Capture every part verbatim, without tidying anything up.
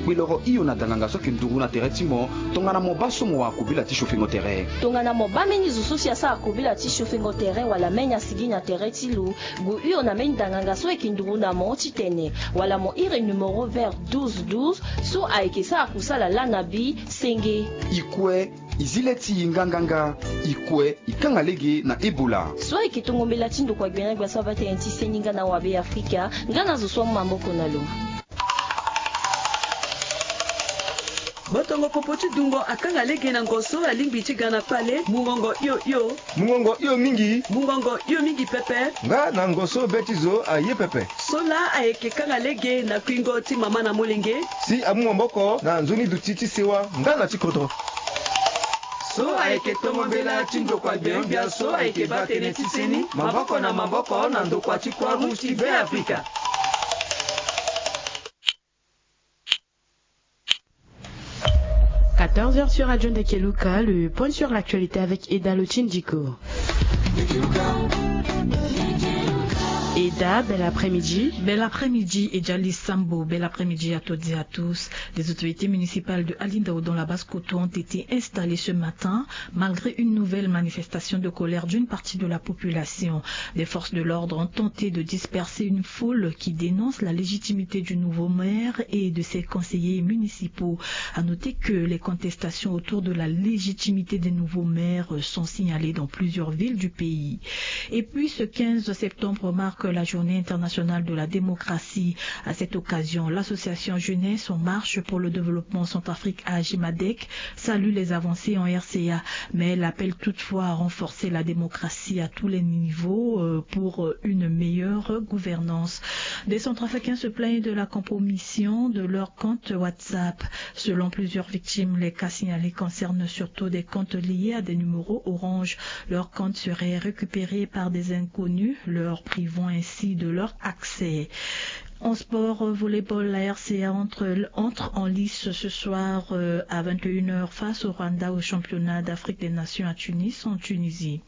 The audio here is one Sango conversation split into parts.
Kpe loro hio na danganga so ayeke nduru na tere ti mo. Tongana mo baa so mo wara kobela ti sofengo tere. Tongana mo baa mbeni zo so si asara kobela ti sofengo tere wala mbeni asigi na tere ti lo, gue hio na mbeni danganga so ayeke nduru na mo titene, wala mo iri numero vert douze douze so ayeke sara kusala laa na bi senge. I kue, i zi le ti i nganganga. I kue, i kanga lege na Ebola. So ayeke tongo mbela ti ndokua gbene gbia so abaa tënë ti seni nga na awabe Afrika, nga na zo so amu maboko na lo. Botongo popo ti dungo akanga lege na ngo so alingbi ti ga na kpale, mungongo hio hio. Mungongo hio mingi. Mungongo hio mingi pepe. Nga na ngo so be ti zo aye pepe. So laa ayeke kanga lege na kuingo ti mama na molenge. Si amu maboko na nzoni duti ti sewa nga na ti kodro. So ayeke tongo mbela ti ndokua gbene gbia so ayeke baa tënë ti seni, maboko na maboko na ndokua ti Croix Rouge ti Be Afrika. Quatorze heures sur Radio Ndekeluka, le point sur l'actualité avec Eda Lotindiko. Eda, bel après-midi. Bel après-midi, Ejali Sambo, bel après-midi à toutes et à tous. Les autorités municipales de Alindao dans la Basse-Kotto ont été installées ce matin, malgré une nouvelle manifestation de colère d'une partie de la population. Les forces de l'ordre ont tenté de disperser une foule qui dénonce la légitimité du nouveau maire et de ses conseillers municipaux. À noter que les contestations autour de la légitimité des nouveaux maires sont signalées dans plusieurs villes du pays. Et puis, ce quinze septembre marque la journée internationale de la démocratie. À cette occasion, l'association Jeunesse en marche pour le développement Centrafrique, AJMADEC, salue les avancées en R C A, mais elle appelle toutefois à renforcer la démocratie à tous les niveaux, euh, pour, euh, une meilleure gouvernance. Des Centrafricains se plaignent de la compromission de leur compte WhatsApp. Selon plusieurs victimes, les cas signalés concernent surtout des comptes liés à des numéros Orange. Leur compte serait récupéré par des inconnus, leur privant ainsi de leur accès. En sport, euh, volleyball, la R C A entre, entre en lice ce soir, euh, à vingt et une heures face au Rwanda au championnat d'Afrique des Nations à Tunis, en Tunisie.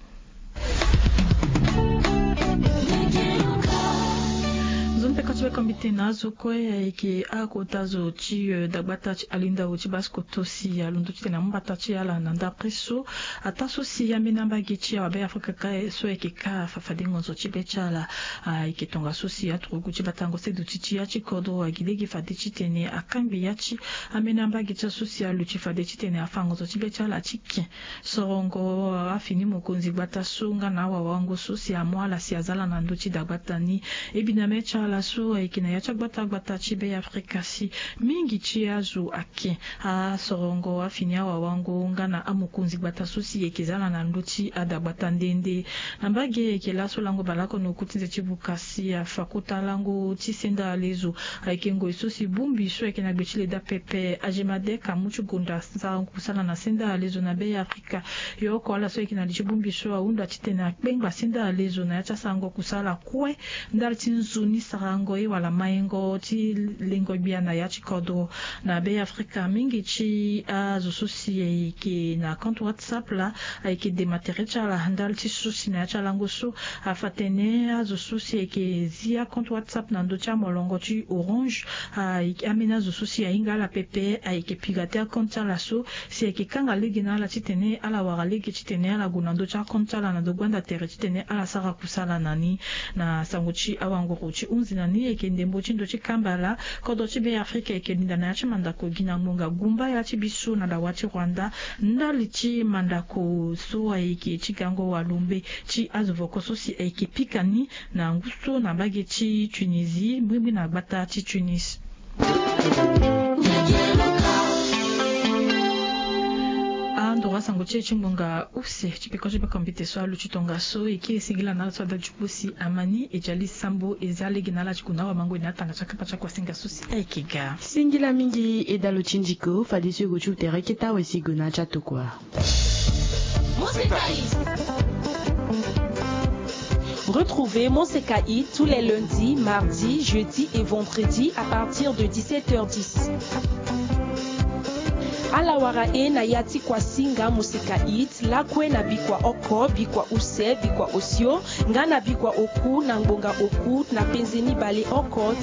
Zo ni peko ti be kombi tene na azo kue ayeke akota zo ti, eh, dagbata ti Alindao ti Basse-Kotto si alondo titene amu mbata ti ala na ndapre so. Ataa so si ambeni ambage ti awabe Afrika kâ so ayeke kâ afa fade ngonzo ti be ti ala, ayeke tongaso si aturugu ti batango seduti ti ya ti kodro agi lege fade titene akangbi ya ti ambeni ambage ti aso si aluti fade titene afa ngonzo ti be ti ala ti ken. Sorongo afini mokonzi gbata so nga na awawango so si amu ala si aza ala na ndö ti dagbata ni. Ebiname ti ala so ayeke na ya ti agbata gbata ti Be Afrika si mingi ti azo ake. Asorongo afini awawango nga na amokonzi gbata so si eke za ala na ndö ti adagbata nde nde. Na mbage eke laso lango baleoko na oku ti nze ti buka si afa kota lango ti senda alezo. Ayeke ngoi so si bongbi so ayeke na gbe ti leta pepe, AGEMADEC amu ti gonda sarango kusala na senda alezo na Be Afrika. Yo oko ala so ayeke na li ti bongbi so ahunda titene akpengba senda alezo na ya ti asarango kusala kue ndali ti nzoni sarango ye wala maingo ti lengo gbia na ya ti kodro. Na Be Afrika mingi ti azo so si ayeke na compte WhatsApp laa ayeke dema tere ti ala ndali ti so si na ya ti alango so afa tene azo so si ayeke zi acompte WhatsApp na ndö ti amolongo ti Orange. Ayeke ambeni azo so si ahinga ala pepe ayeke pirater acompte ti ala so si ayeke kanga lege na ala titene ala wara lege titene ala gue na ndö ti acompte ti ala na ndo gbanda tere titene ala sara kusala na ni. Na sango ti awanguru ti hunzi na ni ayeke ndembo ti ndo ti kamba laa kodro ti Be Afrika ayeke linda na ya ti mandako gi na ngbonga gumba ya ti biso na dawa ti Rwanda ndali ti mandako so ayeke ti gango walombe ti azo voko so si ayeke pika ni na ngu so na mbage ti Tunisie, mbrimbri na gbata ti Tunis. Andoro asango ti e ti ngbonga use ti peko ti peko mbete so aluti tongaso e kiri singila na ala so ada ti kpo si ama ni e jali sambo e za lege na ala ti gue na awamango e na atanga ti akapa ti akuasinga so si ayeke ga. Singila mingi e dalo ti ndiko fadeso e gue ti ute reke tawe si e gue na ala ti atokua. Moseka Hit. Retrouvez Moseka Hit tous les lundis, mardis, jeudis et vendredis à partir de dix-sept heures dix. Ala wara e na ya ti kuasinga Moseka Hit lakue na bikua oko, bikua use, bikua osio, nga na bikua oku na ngbonga oku na penze mibale oko